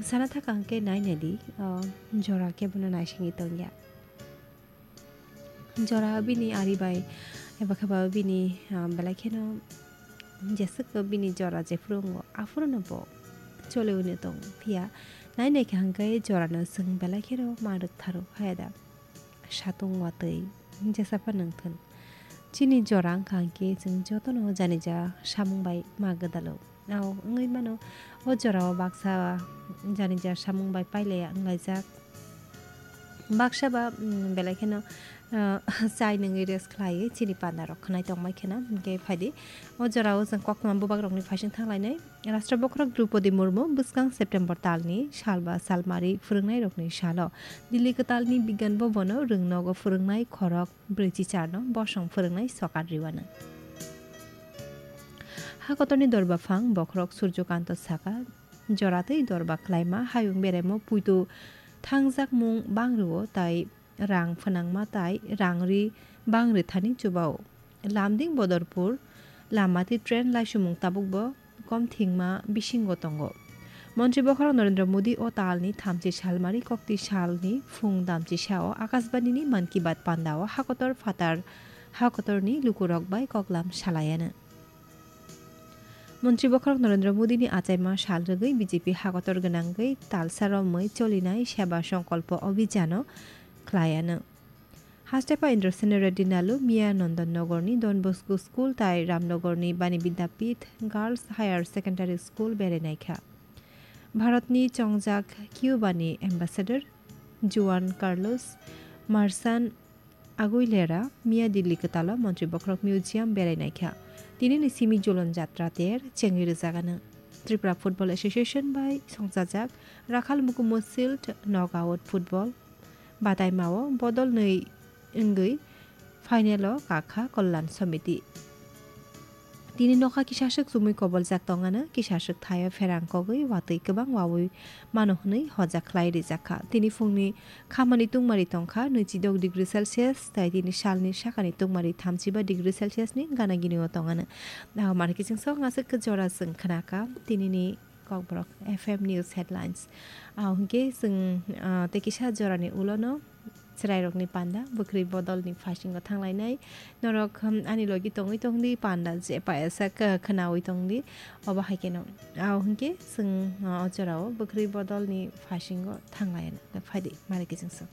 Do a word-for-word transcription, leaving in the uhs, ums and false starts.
Sana thaka hwnkhe nai naidi, o jora kebono naisingwi tongya. Jora bini ari bai, eba khe ba bini, ah, belai kheno jeswk bini jora jephuru wngo, aphuru no bo choli hwnwi tong phiya. Nai naikha hwnkhe jorano chwng belai kheno ma rwktharw phaiya da. Satung watwi jesa phano wngthun. Chini jora wngkha hwnkhe chwng jotono janija samung bai ma gwdalo. Ao wngwi mano, o jorao baksa janija samung bai pailaiya wnglaijak. Baksa ba, mm, belai kheno, ah, chai nungwi rest khlaiwi chini panda rok khwnai tongbai kheno. Hwnkhe phaidi, o jorao chwng koktwma bubak rokni phaising thanglainai. Rashtra bokhorok Droupadi Murmu bwskang September talni sal ba salmari phwrwngnairokni salo Delhi kwtalni Bigyan Bhavan-o rwngnogo phwrwngnai khorok brwichi charno bosong phwrwngnai sokat rwano. Hakotorni dorbaphang bokhorok Surjokanto saka, joratwi dorba klaima hayung beraimo puitu thangjakmung bang rwo tai rang phwnangma tai rang ri bang rwthani chubao. Lamding Bodorpur lamati train laisumung tabukbo kom thwngma bisingo tongo. Montri bokhorok Narendra Modi o talni thamchi salmari kokti salni phung damchi sao Akashbanini Mann Ki Baat pandao hakotor phatar hakotorni lukurok bai koklam salaiano. Montri bokhorok Narendra Modini achaima sal rwgwi B J P hakotor gwnangwi talsa romwi cholinai Seba Songkolpo Abhijano khlaiano. Hastepha Indrasena Reddy Nalu miya Nandan Nagarni Don Bosco School tai Ramnagarni Bani Vidyapith Girls Higher Secondary School berai naikha. Bharatni chongjak Cuba-ni Ambassador Juan Carlos Marzan Aguilera miya Delhi kwtalo Montri bokhorok Museum berai naikha. Tinini simi Jolon Jatra ter chengwi rwjagano. Tripura Football Association bai songchajak Rakhal Mukumo Shield Knockout Football bataimao bodol nwi wngwi final-o kakha Kalyan Samiti. Tini nokha kisaswk chumui koboljak tongano, kisaswk thaio pherang kogwi watwi kwbang wawi mano hwnwi hojak khlai rijak kha. Tini phungni khamani tungmari tongkha nwichidok degree Celsius, tai tini salni sakani tungmari thamchiba degree Celsius ni gana gini o tongano. Nahok mani kiching sok ngaswk khe jora chwng khnakha tinini Kokborok F M News Headlines. Ah, hwnkhe chwng, ah, tei kisa jorani ulono chwrairokni panda bwkrwi bodolni phasingo thanglainai. Norok, hmm, ani logi tongwi tongdi panda je payasa khe khwnawi tongdi. Obo hai kheno. Ah, hwnkhe chwng, ah, o jorao bwkrwi bodolni phasingo thanglaina. Phaidi, mari kiching sok.